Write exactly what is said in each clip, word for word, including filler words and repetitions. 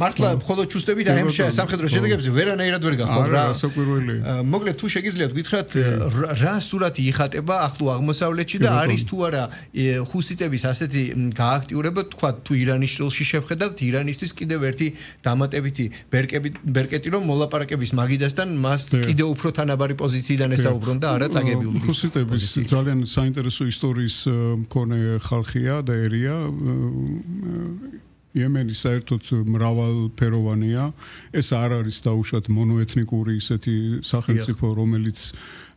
მართლა მხოლოდ ჩუსტები და ემშა სამხედრო შედეგებზე ვერანაირად ვერ გახვალ რა საკურველი მოკლედ თუ შეგიძლიათ გითხრათ რა სურათი იხატება ახლო აღმოსავლეთში და არის თუ არა ჰუსიტების ასეთი გააქტიურება თქვა თუ ირანის შრილში შევხედავთ ირანისთვის კიდევ ერთი დამატებითი ბერკეტი რომ მოლაპარაკების მაგიდასთან მას კიდევ უფრო თანაბარი პოზიციიდან ესაუბრონ და არა წაგებიული ჰუსიტების ძალიან საინტერესო ისტორიის მქონე ხალხია და ერია იემენი საერთოდ მრავალფეროვანია ეს არ არის დაუშვათ მონოეთნიკური ისეთი სახელმწიფო რომელიც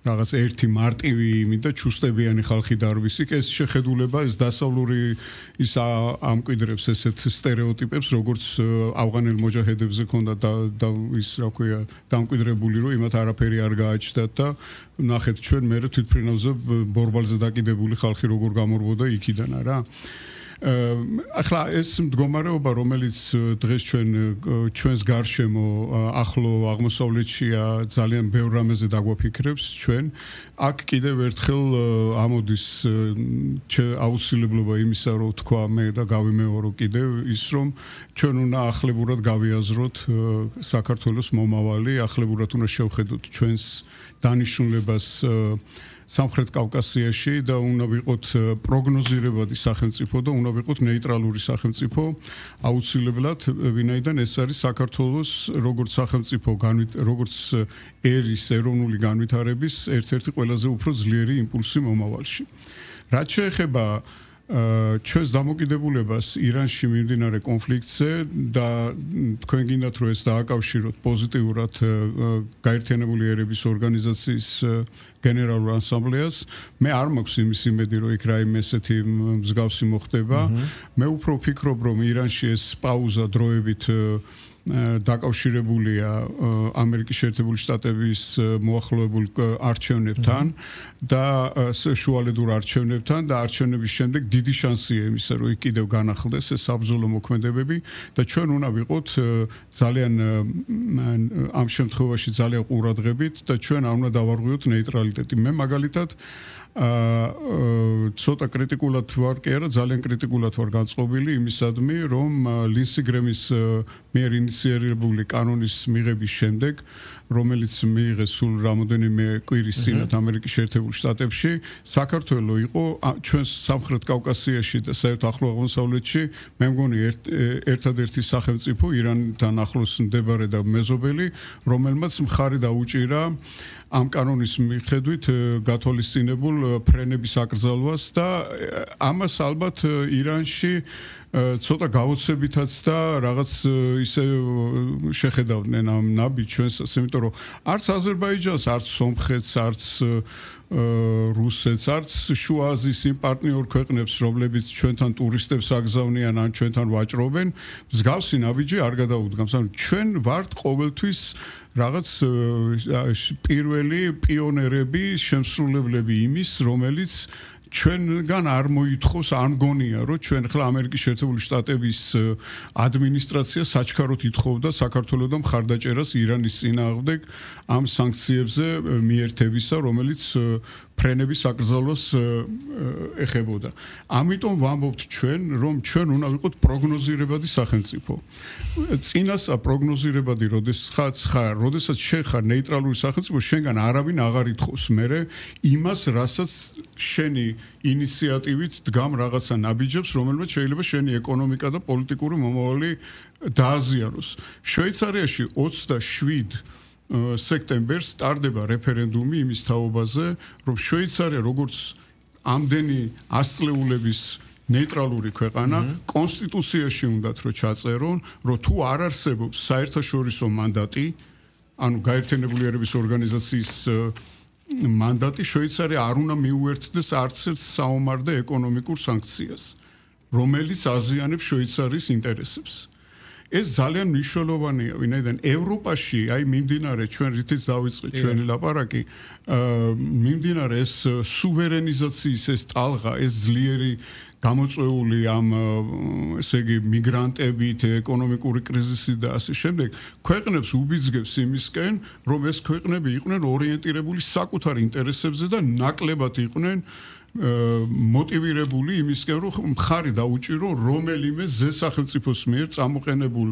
რაღაც ერთი მარტივი იმით და ჩუსტებიანი ხალხი დარვისი ეს შეხედულება ეს დასავლური ის ამკვიდრებს ესეთ სტერეოტიპებს როგორც ავღანელ მოჯაჰედებზე ქონდა და ის რა ქვია დამკვიდრებული რომ იმათ არაფერი არ გააჩნდათ და ნახეთ ჩვენ მე თვითფრინავზე ბორბალზე დაკიდებული ხალხი როგორ გამორბოდა იქიდან არა ახლა ეს მდგომარეობა რომელიც დღეს ჩვენ ჩვენს გარშემო ახლო აღმოსავლეთშია ძალიან ბევრ რამეზე დაგვაფიქრებს ჩვენ აქ კიდევ ერთხელ ამოდის აუცილებლობა იმისა რომ თქვა მე და გავიმეორო კიდევ ის რომ ჩვენ უნდა ახლებურად გავიაზროთ საქართველოს მომავალი ახლებურად უნდა შევხედოთ ჩვენს დანიშნულებას სამხრეთ კავკასიაში და უნდა ვიყოთ პროგნოზირებადი სახელმწიფო და უნდა ვიყოთ ნეიტრალური სახელმწიფო აუცილებლად ვინაიდან ეს არის საქართველოს როგორც სახელმწიფო როგორც ერის ეროვნული განვითარების ერთ-ერთი ყველაზე უფრო ძლიერი იმპულსი მომავალში რაც შეეხება ჩვენს დამოკიდებულებას ირანში მიმდინარე კონფლიქტზე და თქვენ გინდათ რომ ეს დააკავშიროთ პოზიტიურად გაერთიანებული ერების ორგანიზაციის გენერალურ ასამბლეას მე არ მაქვს იმის იმედი რომ იქ რაიმე ესეთი მსგავსი მოხდება მე უფრო ვფიქრობ რომ ირანში ეს პაუზა დროებით დაკავშირებულია ამერიკის შეერთებული შტატების მოახლოებულ არჩევნებთან და შუალედურ არჩევნებთან და არჩევნების შემდეგ დიდი შანსია იმისა რომ იქ კიდევ განახლდეს ეს საბრძოლო მოქმედებები და ჩვენ უნდა ვიყოთ ძალიან ამ შემთხვევაში ძალიან ყურადღებით და ჩვენ არ უნდა დავარღვიოთ ნეიტრალიტეტი მე მაგალითად აა ცოტა კრიტიკულად ვარ კი არა ძალიან კრიტიკულად ვარ განწყობილი იმისადმი რომ ლინსი გრემის მიერ ინიციირებული კანონის მიღების შემდეგ რომელიც მიიღეს სულ რამოდენიმე კვირის წინათ ამერიკის შეერთებულ შტატებში საქართველოს იყო ჩვენს სამხრეთ კავკასიაში და საერთოდ ახლო აღმოსავლეთში მე მგონი ერთადერთი სახელმწიფო ირანთან ახლოს მდებარე და მეზობელი რომელმაც მხარი დაუჭირა ამ კანონის მიხედვით გათვალისწინებულ ფრენების აკრძალვას და ამას ალბათ ირანში ცოტა გაოცებითაც და რაღაც ისე შეხედავდნენ ამ ნაბი ჩვენსაც, იმიტომ რომ არც აზერბაიჯანს, არც სომხეთს, არც რუსეთს, არც შუა აზიის იმ პარტნიორ ქვეყნებს, რომლებიც ჩვენთან ტურისტებს აგზავნიან ან ჩვენთან ვაჭრობენ, მსგავსი ნაბიჯი არ გადაუდგამს. ანუ ჩვენ ვართ ყოველთვის რაღაც პირველი პიონერები, შემსრულებლები იმის, რომელიც ჩვენგან არ მოითხოვს, არ მგონია, რომ ჩვენ ხლა ამერიკის შეერთებული შტატების ადმინისტრაცია საჩქაროდ ითხოვდა საქართველოსთან მხარდაჭერას ირანის წინააღმდეგ ამ სანქციებზე მიერთებისა, რომელიც ფრენების აკრძალვას ეხებოდა. ამიტომ ვამბობთ ჩვენ, რომ ჩვენ უნდა ვიყოთ პროგნოზირებადი სახელმწიფო. წინასა პროგნოზირებადი, როდესაც ხარ, როდესაც შენ ხარ ნეიტრალური სახელმწიფო, შენგან არავინ აღარ ითხოვს მერე იმას, რასაც შენი ინიციატივით დგამ რაღაცა ნაბიჯებს, რომელმაც შეიძლება შენი ეკონომიკა და პოლიტიკური მომავალი დააზიანოს. შვეიცარიაში ოცდაშვიდ სექტემბერს სტარდება რეფერენდუმი იმის თაობაზე, რომ შვეიცარია როგორც ამდენი ასწლეულების ნეიტრალური ქვეყანა კონსტიტუციაში უნდათ რომ ჩაწერონ, რომ თუ არ არსებობს საერთაშორისო მანდატი, ანუ გაერთიანებული ერების ორგანიზაციის მანდატი, შვეიცარია არ უნდა მიუერთდეს არც ერთ საომარ და ეკონომიკურ სანქციას, რომელიც აზიანებს შვეიცარიის ინტერესებს. ეს ძალიან მნიშვნელოვანია, ვინაიდან ევროპაში, აი მიმდინარე ჩვენ რითიც დავიწყეთ ჩვენი ლაპარაკი, მიმდინარე ეს სუვერენიზაციის ეს ტალღა, ეს ძლიერი გამოწვეული ამ ესე იგი მიგრანტებით, ეკონომიკური კრიზისით და ასე შემდეგ, ქვეყნებს უბიძგებს იმისკენ, რომ ეს ქვეყნები იყვნენ ორიენტირებული საკუთარ ინტერესებზე და ნაკლებად იყვნენ მოტივირებული იმისკენ, რომ მხარი დაუჭირო რომელიმე ზე სახელმწიფოს მიერ წამოყენებულ